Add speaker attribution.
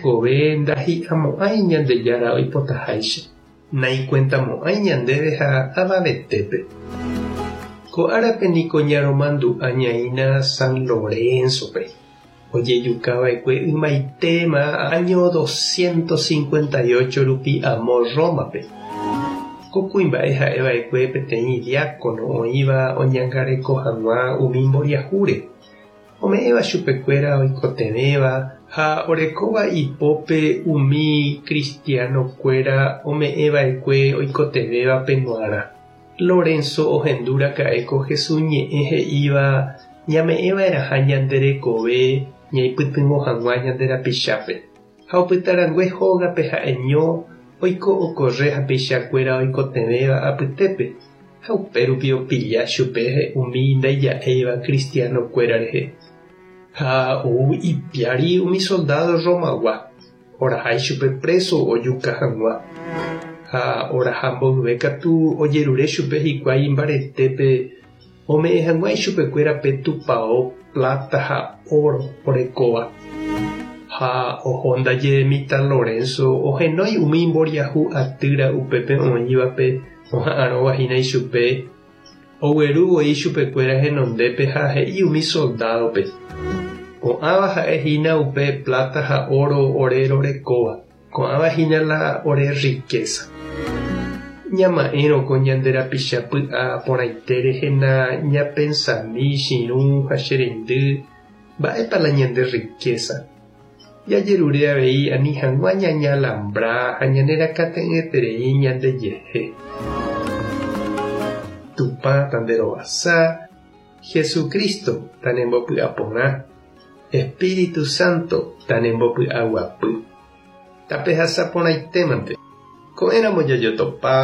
Speaker 1: rekove ndahi'amo'ãi Ñandejára oipotaháicha, naikuentamo'ãi ñandéve ha avavetépe. Ko árape niko ñaromandu'a ñaína San Lorenzo-pe, ojejukava'ekue ymaitéma áño doscientos cincuenta y ocho rupi amo Roma-pe. Ko kuimba'e ha'eva'ekue peteĩ diácono oĩva oñangareko hag̃ua umi mboriahúre. Ome'ẽva chupekuéra oikotevẽva ha orekóva ipópe umi kristianokuéra ome'ẽva'ekue oikotevẽvape g̃uarã. Lorenzo ohendu raka'e ko Jesús ñe'ẽ he'íva ñame'ẽva'erãha ñande rekove ñaipytyvõ hag̃ua ñande rapichápe. Ha opytarangue hógape ha'eño oiko okorre hapichakuéra oikotevẽva apytépe, ha upérupi opilla chupe umi ndaija'éiva kristianokuéra rehe. Ha ou ipiári umi soldádo Romagua, oraha ichupe préso ojuka hag̃ua. Ha oraha mboyve katu ojerure chupe hikuái mbaretépe ome'ẽ hag̃ua ichupekuéra pe tupao pláta ha óro orekóva. Ha oho ndaje mitã Lorenzo ohenói umi mboriahu atýra upépe oĩvape oha'arõva hína ichupe, ogueru voi ichupekuéra henondépe ha he'i umi soldádope, Ko'ãva ha'e hína upe pláta ha óro ore rorekóva. Ko'ãva hína la ore rrikésa. Ñama'ẽrõ ko ñande rapicha py'a porãite rehe na ñapensami chirũ ha che reindy mba'épa la ñande rrikésa. Jajerure avei ani hag̃ua ñañalambra ha ñanerakate'ỹeterei ñandejehe. Tupã tanderovasa, Jesucristo tanembopy'aporã, Espíritu Santo tanembopy'aguapy. Tapehasa porãitémante. Ko'ẽramo jajotopáta.